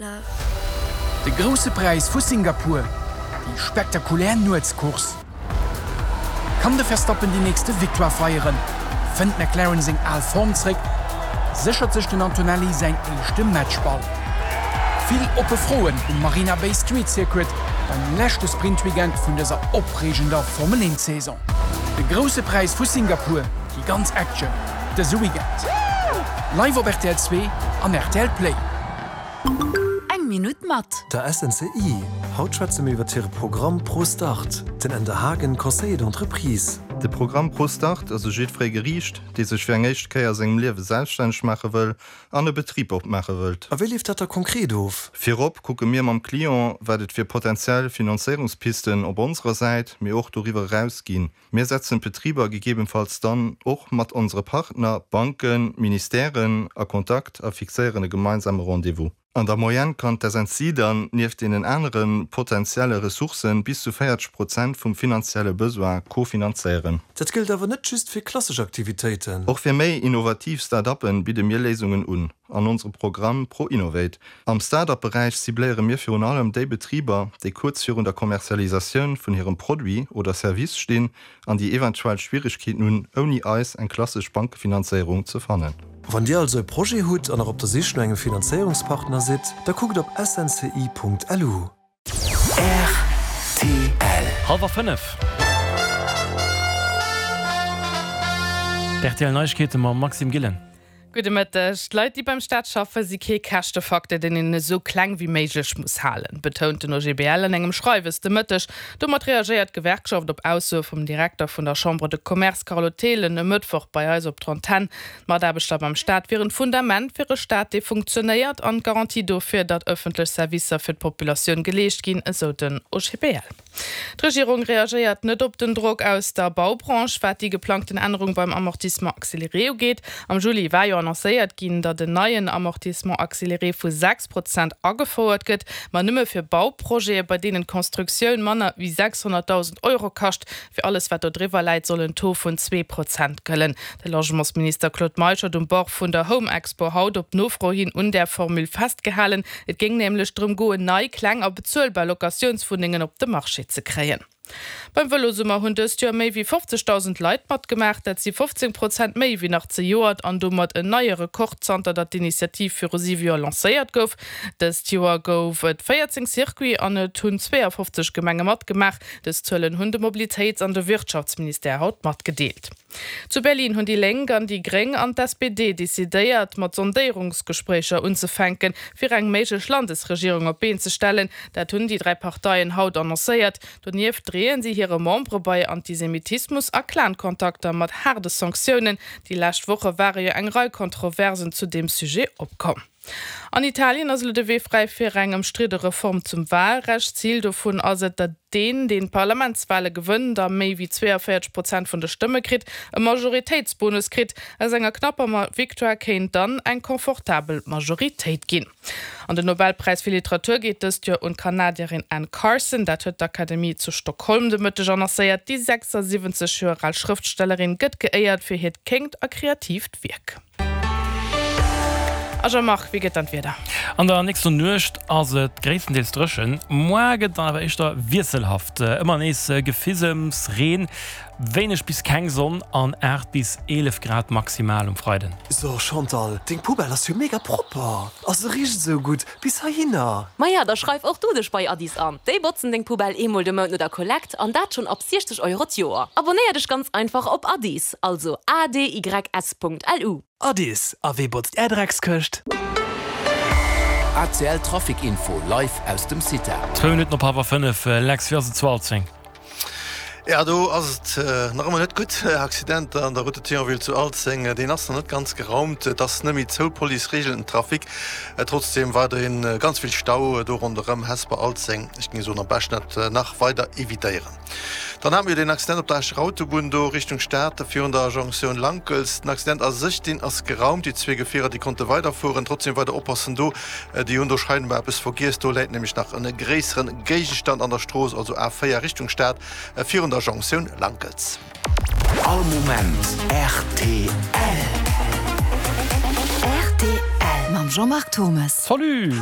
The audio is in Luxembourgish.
De Grousse Präis vu Singapur, déi spektakulär Nuetscourse. Kann de Verstappen déi nächste Victoire feieren? Fënnt McLaren seng al Form zréck? Séchert sech den Antonelli säin éischte Matchball? Vill oppe Froen um Marina Bay Street Circuit beim leschte Sprintweekend vun dëser opreegender Formel 1 Saison. De Grousse Präis vu Singapur, déi ganz Action dëse Weekend. Live op rtl 2 an rtl Play. Eng Minutt mat. Der SNCI. Haut schwätze mir iwwert hire Programm ProStart. Den Änder Haagen, Conseiller d'entreprise. De Programm ProStart ass u jiddweree geriicht, dee sech fir eng éischt Kéier a sengem Liewe selbststänneg maache wëll an e Betrib opmaache wëllt. A wéi leeft dat da konkret of? Virop kucke mir mam Client, wat et fir potentiell Finanzéierungspisten op onserer Säit, mee och doriwwer eraus ginn. Mir setzen d'Betriber gegebenfalls dann och mat onsere Partner, Banken, Ministèren, a Kontakt a fixéieren e gemeinsame Rendez-vous. An der Moyenne kann d'SNCI dann, nieft deenen anere potentielle Ressourcen, bis zu 40 Prozent vum finanzielle Besoin kofinanzéieren. Dat gëllt awer net just fir klassesch Aktivitéiten. Och fir méi innovativ Start-uppen bidde mir Léisungen un an onsere Programm ProInnovate. Am Start-up-Beräich cibléiere mir virun allem déi Betriber, déi kuerz virun der Kommerzialisatioun vun hirem Produit oder Service stinn an déi eventuell Schwierigkeeten hunn, ouni eis eng klassesch Bankefinanzéierung ze fannen. Wann Dir also e Projet hutt an nach op der Sich no engem Finanzéierungspartner sidd, da kuckt op snci.lu. Rtl. Hallwer 5. D'RTL Neiegkeete mam Maxime Gillen. Gudde Mëtteg. D'Leit, déi beim Staat schaffen, si kee Käschtefaktor, deen een esou kleng wéi méiglech muss halen, betount den OGBL an engem Schreiwes de Mëtteg. Domat reagéiert d'Gewerkschaft op Aussoe vum Direkter vun der Chambre de Commerce Carlo Thelen e Mëttwoch bei eis op d'Antenn. D'Mataarbechter beim Staat wieren d'Fundament fir e Staat, dee funktionéiert an d'Garantie dofir, datt ëffentlech Servicer fir d'Populatioun geleescht ginn, esou den OGBL. D'Regierung reagéiert net op den Drock aus der Baubranche, wat déi geplangten Ännerung beim Amortissement accéléré ugeet. Am Juli war jo annoncéiert ginn, datt en neien Amortissement accéléré vu 6 Prozent agefouert gëtt, ma nëmme fir Bauprojete, bei deenen d'Constructioun manner wéi 600.000 Euro kascht. Fir alles, wat do driwwer läit, soll en Taux vun 2 Prozent gëllen. De Logementsminister Claude Meisch huet um Bord vun der Home Expo haut op Nofro hin un där Formule festgehalen. Et géing nämlech drëm goen, nei, kleng a bezuelbar Locatiounswunnengen op de Marché ze kréien. Beim Vëlosummer hunn dëst Joer méi wéi 50.000 Leit matgemaach. Dat si 15 Prozent méi wéi nach zejoert an domat en neie Rekord zanter datt d'Initiativ viru siwe Joer lancéiert gouf. Dëst Joer gouf et 14 Circuits an et hunn 52 Gemenge matgemaach. Dës Zuelen hunn de Mobilitéits an de Wirtschaftsministère haut matgedeelt. Zu Berlin hunn déi Lénk an déi Gréng an d'SPD decidéiert, mat Sondéierungsgespréicher unzefänken, fir eng méiglech Landesregierung op d'Been ze stellen. Dat hunn déi 3 Parteien haut annoncéiert. Donieft dreeën si hire Membere bei Antisemitismus a Clan-Kontakter mat haarde Sanktiounen. Déi lescht Woche ware jo eng Rei Kontroversen zu deem Sujet opkomm. An Italien ass elo de Wee fräi fir eng ëmstridde Reform zum Walrecht. Zil dovun ass et, datt deen, deen d'Parlamentswale gewënnt a méi wéi 42 Prozent vun de Stëmme kritt, e Majoritéitsbonus kritt. Aus enger knapper Victoire kéint dann eng confortabel Majoritéit ginn. An den Nobelpräis fir Literatur geet dëst Joer un d'Kanadierin Anne Carson. Dat huet d'Akademie zu Stockholm de Mëtteg annoncéiert. Déi 76 Joer al Schrëftstellerin gëtt geéiert fir hiert kéngt a kreatiivt Wierk. A Jean-Marc, wéi gëtt dann d'Wieder? An der nächster Nuecht ass et gréisstendeels dréchen, moar gëtt et dann awer éischter wiesselhaft. Ëmmer nees Gefisems, Reen, wéineg bis keng Sonn an 8 bis 11 Grad maximal um Freiden. So Chantal, deng Poubelle ass jo mega propper a se richt esou gutt bis heihinner. Maja, da schreif och du dech bei Addis an. Déi botzen deng Poubelle eemol de Mount no der Kollekt an dat schonn ab 60 Euro d'Joer. Abonnéier dech ganz einfach op Addis, also adys.lu. Addis, a wee botzt är Dreckskëscht? ACL Trafic Info live aus dem CITA. Zwou Minutten op hallwer 5, Lex, wéi ass et zu Alzeng? Ja, do ass et nach ëmmer net gutt. Accident an der Route de Thionville zu Alzeng, deen ass nach net ganz geraumt. Et ass net méi zou, d'Police reegelt den Trafic. Trotzdeem weiderhin ganz vill Stau do ronderëm Hesper, Alzeng. Ech géing soen, am beschten dat nach weider evitéieren. Dann hate mir jo deen Accident op der Escher Autobunn do Richtung Stad virun der Jonktioun Lankels. Den Accident a sech, deen ass geraumt. Déi zwee Gefierer, déi konnte weiderfueren. Trotzdeem weider oppassen do. Déi hunn do scheinbar eppes vergiess. Do läit nämlech nach en gréisseren Géigestand an der Strooss, also A4 Richtung Stad, virun der Jonktioun Lankels. All Moment rtl. Rtl mam Jean-Marc Thommes. Salut!